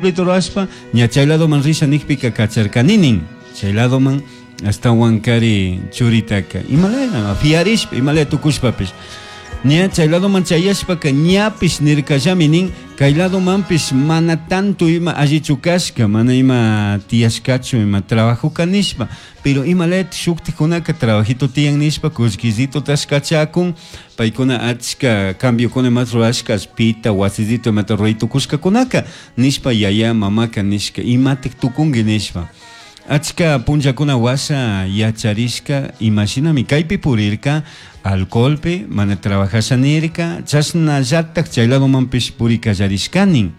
Pueblito rurashpa ña chay ladoman risha nijpica cacharcani nin. Chay ladoman ashtahuan cari churitaca imalaya fiarishpa imalaya tucushpapish ña chay ladoman chayashpaca ñapish nircallami nin cay ladomanpish mana tanto ima allichu cashca mana ima tiyashcachu ima trabajoca nishpa pero imalaya shujtajcunaca trabajito tiyan nishpa cullquisitotash cachacun paicuna achca cambiocuna imata rurashca allpita wasisito imata rurai tucushcacunaca nishpa yaya mamaca nishca imataj tucungui nishpa achca punllacuna huasha yacharishca imashinami caipi purirca alcoholpi mana trabajasha nirca chashnallataj chay ladomanpish puri callarishcanin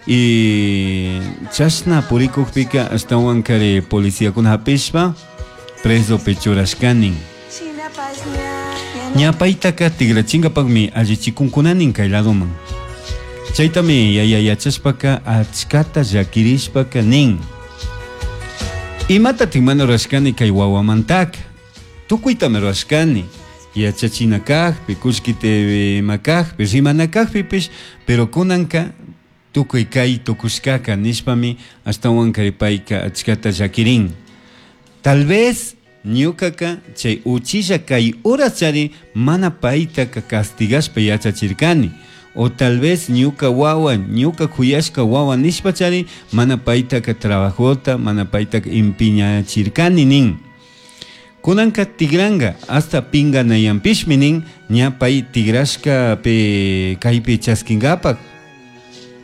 y chashna purikujpika ashtahuankari policiakuna hapishpa presopi churashcanin ña paytaka tigrachingapakmi allichikunkunanin kay ladoman chaytami yaya yachashpaka achkata llakirishpaka nin imatatik mana rurashkani kay wawamantaka tukuytami rurashkani yachachina kajpi kullkita ima kajpi rimana kajpipish pero kunanka tukuy kay tukushkaka nishpami ashtahuan kay payka achkata llakirin tal vez ñukaka chay uchilla kay horas chari mana paytaka castigashpa yachachirkani o tal vez ñuka wawa ñuka kuyashka wawa nishpachari mana paytaka trabajota mana paytaka empeñachirkani nin kunanka tigranga hasta pinganayanpishmi nin ña pay tigrashka pe kaypi chaskingapak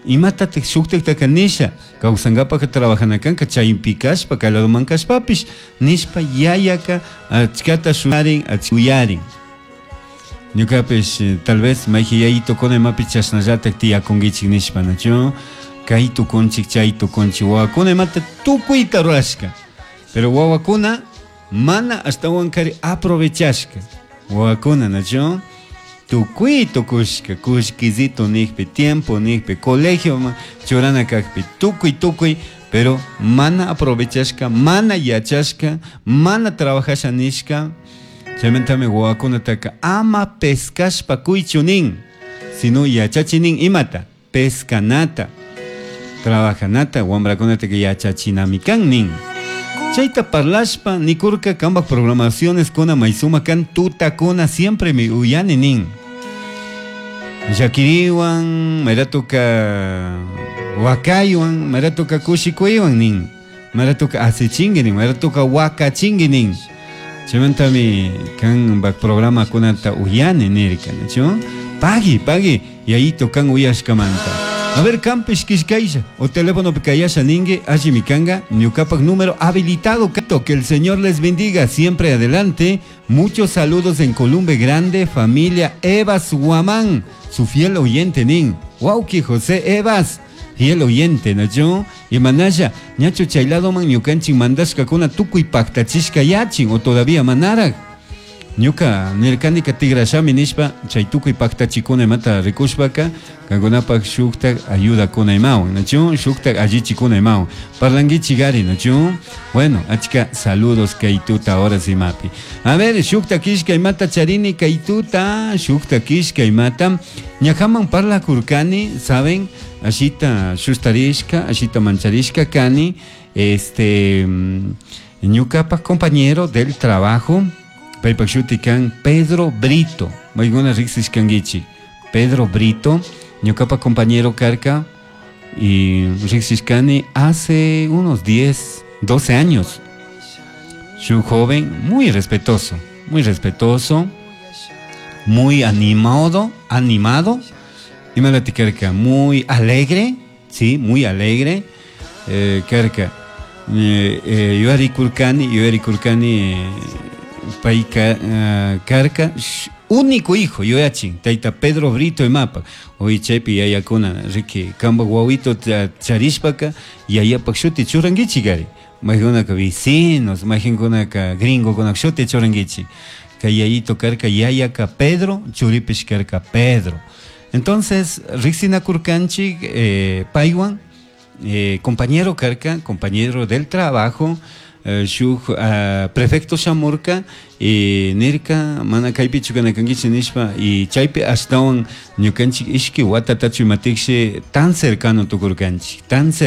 imatatik shuktiktaka nisha kawsankapak trabajana kanka chaypi kashpa kay ladoman kashpapish nishpa yayaka achkata shuyarin uyarin ñukapish tal vez mayji yayitokuna imapish chashnallatak tiyakunkichik nishpa nachu kay tukunchik chay tukunchik wawakuna imata tukuyta rurashka pero wawakuna mana ashtawankari aprovechashka wawakuna nachu tukuy tukushka kullkisito nijpi tiempo nijpi colegio churana kajpi tukuy tukuy pero mana aprovechashka mana yachashka mana trabajasha nishka chaymantami wawakunataka ama pescashpa kuychu nin sino yachachi nin imata pescanata trabajanata wambrakunataka yachachinami kan nin chayta parlashpa nikurka kambak programaciones kuna may sumak kan tutakuna siempre mi uyani nin llakiriwan mayratuka wakaywan mayratuka kushikuywan nin mayratuka asichinki nin mayratuka wakachinki nin chaymantami kanpak programakunata uyani nirka nachu pagui pagui yayito kan uyashkamanta a ver kanpish killkaylla o telefonopi kayasha ninki allimi kanga ñukapak número habilitado que el Señor les bendiga siempre adelante muchos saludos en Columbe Grande familia Evas Guamán su fiel oyente nin wawki José Evas fiel oyente nachu imanalla ñachu chay ladoman ñukanchik mandashkakuna tukuy paktachishka yachin o todavía manarak ñuka nirkanika tigrashami nishpa chay tukuy paktachikuna imata rikushpaka kankunapak shuktak ayudakuna imawan nachu shuktak allichikuna imawan parlankichik nachu bueno achka saludos kay tuta horas imapi a ver shukta killka imata charini kay tuta shukta killka imata ñajaman parlakurkani saben ashita shustarishka ashita mancharishka kani este ñukapak compañero del trabajo paypak shuti kan Pedro Brito maykuna riksishkankichik Pedro Brito ñukapak compañero karka y riksishkani hace unos 10 12 años shuk joven muy respetuoso muy respetuoso muy animado animado imalati karka muy alegre sí muy alegre karka yuyarikurkani yuyarikurkani payka karka único hijo yuyachin tayta Pedro Brito imapak hoy chaypi yayakuna riki kampak wawito charishpaka yayapak shuti churankichik ari maykunaka vecinos mayjinkunaka gringokunak shuti churankichik kay yayito karka yayaka Pedro churipish karka Pedro entonces riksinakurkanchik paywan compañero karka compañero del trabajo. Shuk prefecto shamurka y nirka mana kaypichu kana kankichik nishpa y chaypi ashtawan ñukanchik ishki watatachu imatikshi tan cercano tukurkanchik, tan cercano.